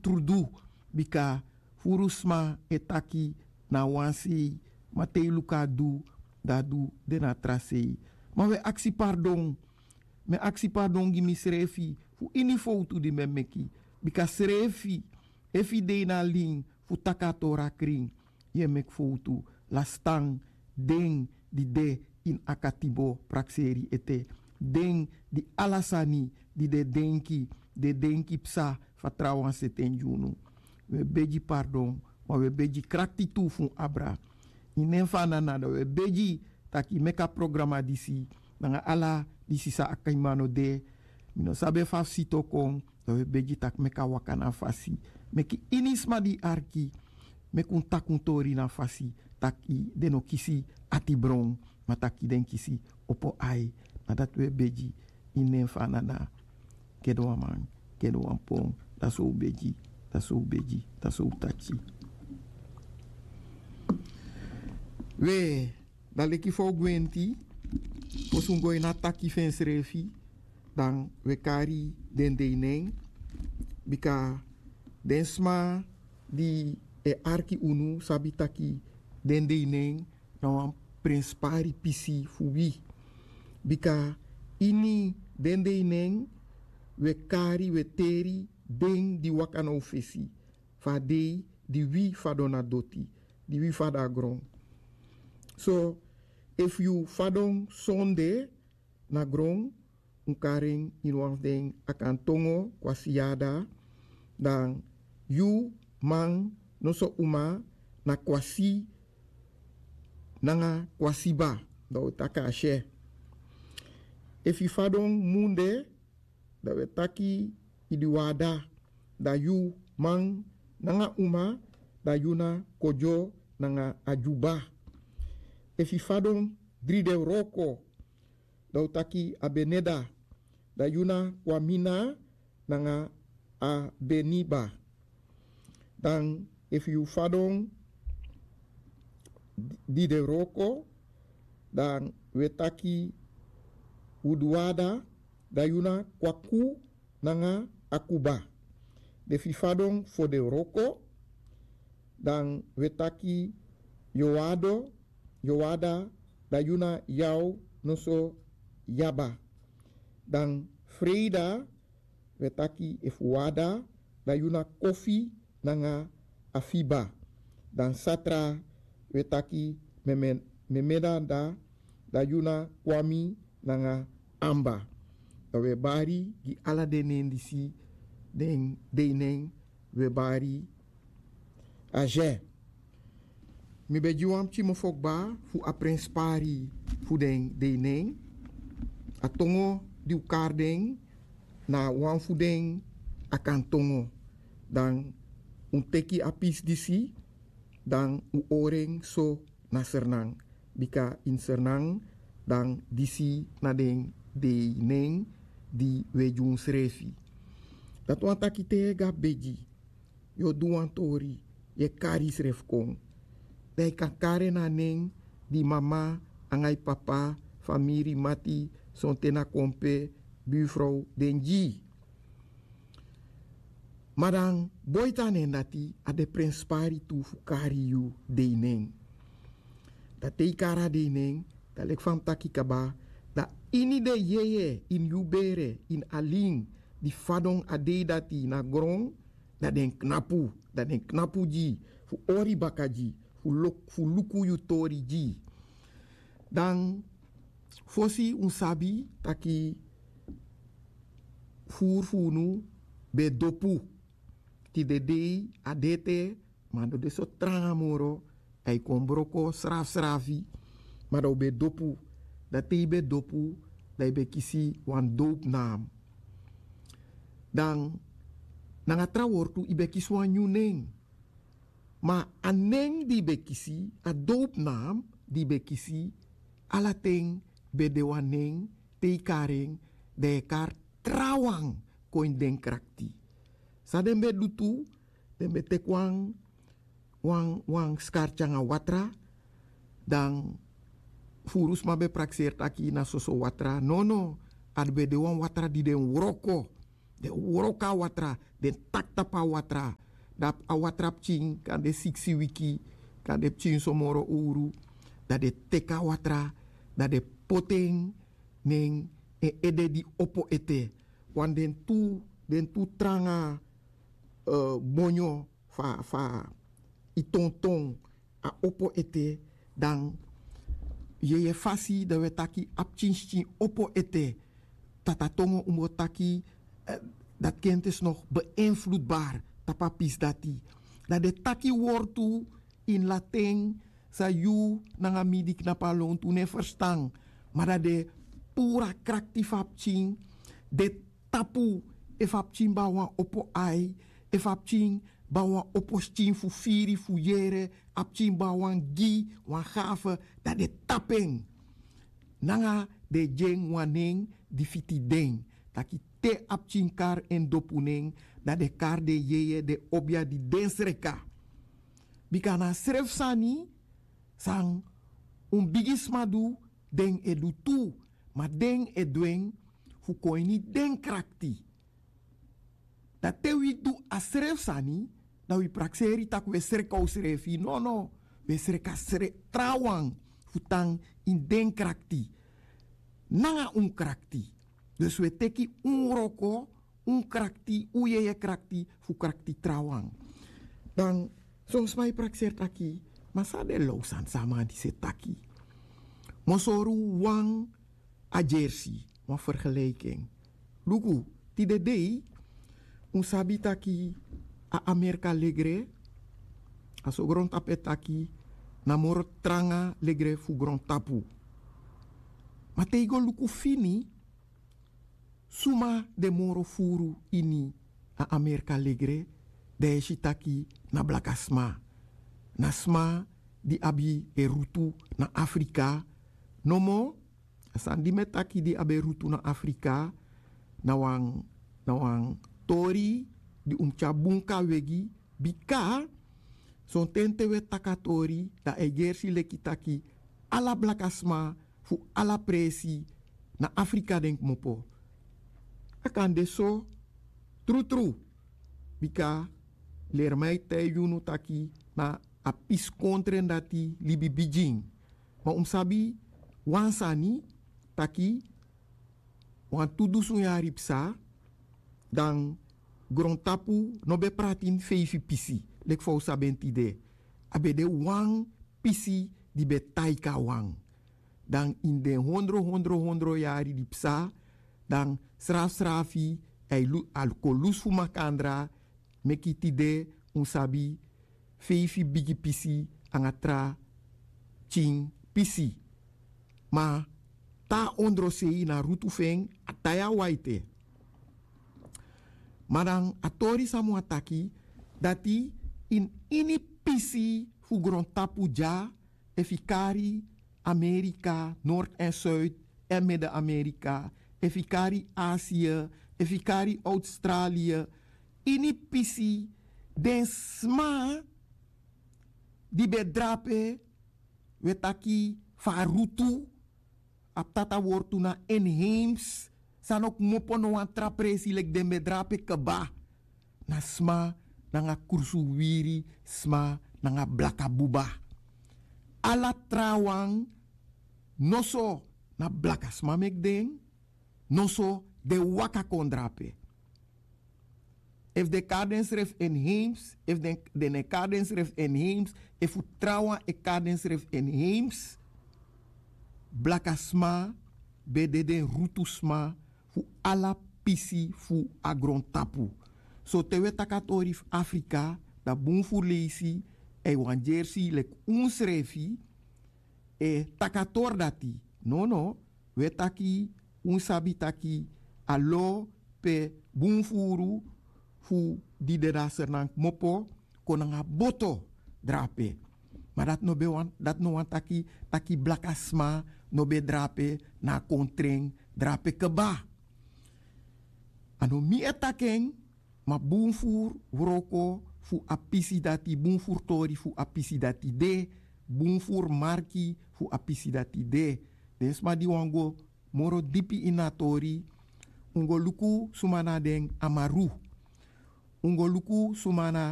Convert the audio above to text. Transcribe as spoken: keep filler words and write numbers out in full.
prudu. Bika furu sma e taki na wan sei, ma te yu luku a du, dan a du de na tra sei. Ma wi e aksi pardon. Mi e aksi pardon gi misrefi fu ini fowtu di mi e meki. Bika srefi, efu yu de ini a lin fu taki a tori a krin, yu e meki fowtu. Lastan, den di de ini a katibo prakseri ete, den di ala sani di den denki, den denki psa fu a trawan sete en gi unu. Wi e begi pardon, ma wi e begi krakti tu fu un abra. Ini nen fu a nana, dan wi e begi tak' yu meki a programa disi nanga ala disi san a kain man no de. Mi no sabi efu a fu sito kon. Dan wi e begi tak' meki a waka na a fasi. Meki ini sma di yu arki, meki un taki un tori na a fasi, tak' den no kisi ati bron, ma tak' den kisi opo ai. Na dati wi e begi. Ini nen fu a nana, gede wan man, gede wan pon. Dati so un begi, dati so un begi, dati so un taki. We, dan leki fa un gwenti, fosi un go ini a taki fu ensrefi, dan wi e kari den dei nen. Bika den sma di e arki unu sabi taki den dei nen na wan prenspari pisi fu wi. Bika ini den dei nen wi e kari, wi e teri den di waka na un fesi fu a dei di wi fadon na doti, di wi fadon na gron. So, efu yu fadon sonde na gron, un kari en ini wan fu den Akantongo kwasiyada, dan yu man noso uma na kwasi nanga kwasiba, dan wi taki a sye. Efu yu fadon munde, dan wi e taki idiwada, dan yu man nanga uma, dan yu na kodyo nanga adyuba. Efu yu fadon dridewroko, dan wi taki abeneda, dan yu na kwamina nanga abeniba. Dan efu yu fadon didewroko, dan wi e taki uduwada, dan yu na kwaku nanga akuba. Dan efu yu fadon fodewroko, dan wi e taki yowado, yowada, dan yu na yaw noso yaba. Dan freida, wi e taki efu wada, dan yu na kofi nanga afiba. Dan satra, wi e taki meme, memeda, dan yu na kwami nanga amba. Dan wi e bari gi ala den nen disi, den dei nen, wi e bari a sye. Mi ben gi wan pikin mofo kba fu a prenspari fu den dei nen. A tongo di un kari den na wan fu den Akantongo. Dan un teki a pisi disi, dan un hori en so na Sranan. Bika ini Sranan, dan disi na den dei nen di wi e gi unsrefi. Dati wani taki te yu e go a begi, yu o du wan tori, yu e kari yusrefi kon. Dan yu kan kari en na a nen di yu mama anga yu papa, famiri, mati, sonten na kompe, birfrow, den gi yu. Ma dan boiti a nen dati, a de prenspari tu fu kari yu dei nen. Dan te yu kari a dei nen, dan leki fa mi taki kaba, dan ini den yeye, ini yu bere, ini a lin di fadon a dei dati na gron, dan den knapu, dan den knapu gi yu, fu hori baka gi yu, fu luk-, fu luku yu tori gi yu. Dan fosi un sabi taki furu fu unu ben dopu. Tide dei a de ete, ma a no de so tranga moro, dan yu kon broko srafsrafi, ma dan un ben dopu. Dan te yu ben dopu, dan yu ben kisi wan doopnaam. Dan nanga tra wortu, yu ben kisi wan nyun nen. Ma a nen di yu ben kisi, a doopnaam di yu ben kisi, ala ten ben de wan nen, te yu kari en, dan yu e kari trawan kon ini den krakti. San den ben du tu, den ben teki wan, wan, wan skarti anga watra, dan furu sma ben prakseri taki na soso watra. Nono, a ben de wan watra di den wroko. Den wroko a watra, den taki tapu a watra. Dan a watra pikin kan de siksi wiki, kan de pikin somoro owru. Dan den teki a watra, dan den poti en na en ede di opo ete. Wan den tu den tu tranga bonyo fu a tonton a opo ete. Dan yeye fasi dan wi e taki a pikin skin opo ete. Tata tongo un bo taki dati kenti is no beinflutbar tapu a pisi dati. Dan den taki wortu ini latin san yu nanga mi di knapu a lontu no e ferstan. Ma dan den puru a krakti fu a pikin den tapu efu a pikin ben a wan opo ai, efu a pikin ben a wan opo skin fu firi fu yere, a pikin ben a wan gi wan gafe, dan den tapu en nanga den e gi en wan nen di fiti den. Taki te a pikin kari en dopu nen, dan den kari den yeye den obia di den sreka. Bika na a srefi sani san un bigisma du, den e du tu. Ma den e du en fu kon ini den krakti. Dan te wi du a srefi sani, dan wi prakseri tak' wi e sreka unsrefi nono. Wi e sreka trawan fu tan ini den krakti nanga un krakti. Dus wi e teki un wroko, un krakti un yeye krakti fu krakti trawan. Dan son sma e prakseri taki, ma san den low sani san a man disi e taki? Mi o sori un wan a gersi, wan fergeliken. Luku, tide dei un sabi taki a amerika legre, a so grontapu e taki, na moro tranga legre fu grontapu. Ma te yu go luku fini suma den moro furu ini a amerika legre, dan yu e si taki na blaka sma. Na sma di abi e rutu na afrika. Nomo a sani di mi e taki di abi e rutu na afrika, na wan na wan tori di un mus tyari bun kawegi. Bika sonten te wi e taki a tori dan a e gersi leki taki ala blaka sma fu ala presi na afrika den kmopo. A kan de so trutru. Bika leri mi e taigi unu taki na a pisi kontre dati libi bigin. Ma un mus sabi wan sani taki wantu dusun yari psa dan grontapu no ben prati ini feifi pisi leki fa un sabi en tide. A ben de wan pisi di ben taigi a wan. Dan ini den hondro hondro hondro yari di psa dan srafsrafi a e kon lusu fu makandra. Meki tide un sabi feifi bigi pisi nanga tra pikin pisi. Ma te a ondrosei na rutu fu en a tai a waite. Ma dan a tori san mi wani taki dati ini ini pisi fu grontapu dya efu yu kari amerika nord èn suid èn mede amerika efu yu kari asia efu yu kari australia ini pisi den sma di ben drape wi e taki fu a rutu. A ptata wortu na inheems san no kmopo no wan tra presi leki den ben drape kba. Na sma nanga krusu wiri sma nanga blaka buba. Ala trawan noso na blaka sma meki den noso den waka kon drape. Efu den e kari densrefi inheems efu den no e kari densrefi inheems efu trawan e kari densrefi inheems. Blaka sma ben de den rutu sma fu ala pisi fu a grontapu. So te wi e taki a tori fu afrika dan bun furu leisi èn yu wani gersi leki unsrefi e taki a tori dati. Nono wi e taki un sabi taki a lo pe bun furu fu di de na sernan kmopo kon nanga boto drape. Ma dati no ben wani dati no wani taki taki blaka sma no ben drape na a kontren drape kba. A no mi e taki en ma bun furu wroko fu a pisi dati bun furu tori fu a pisi dati de bun furu marki fu a pisi dati de. Den sma di wani go moro dipi ini a tori Un go luku suma na den amaru. Un go luku suma na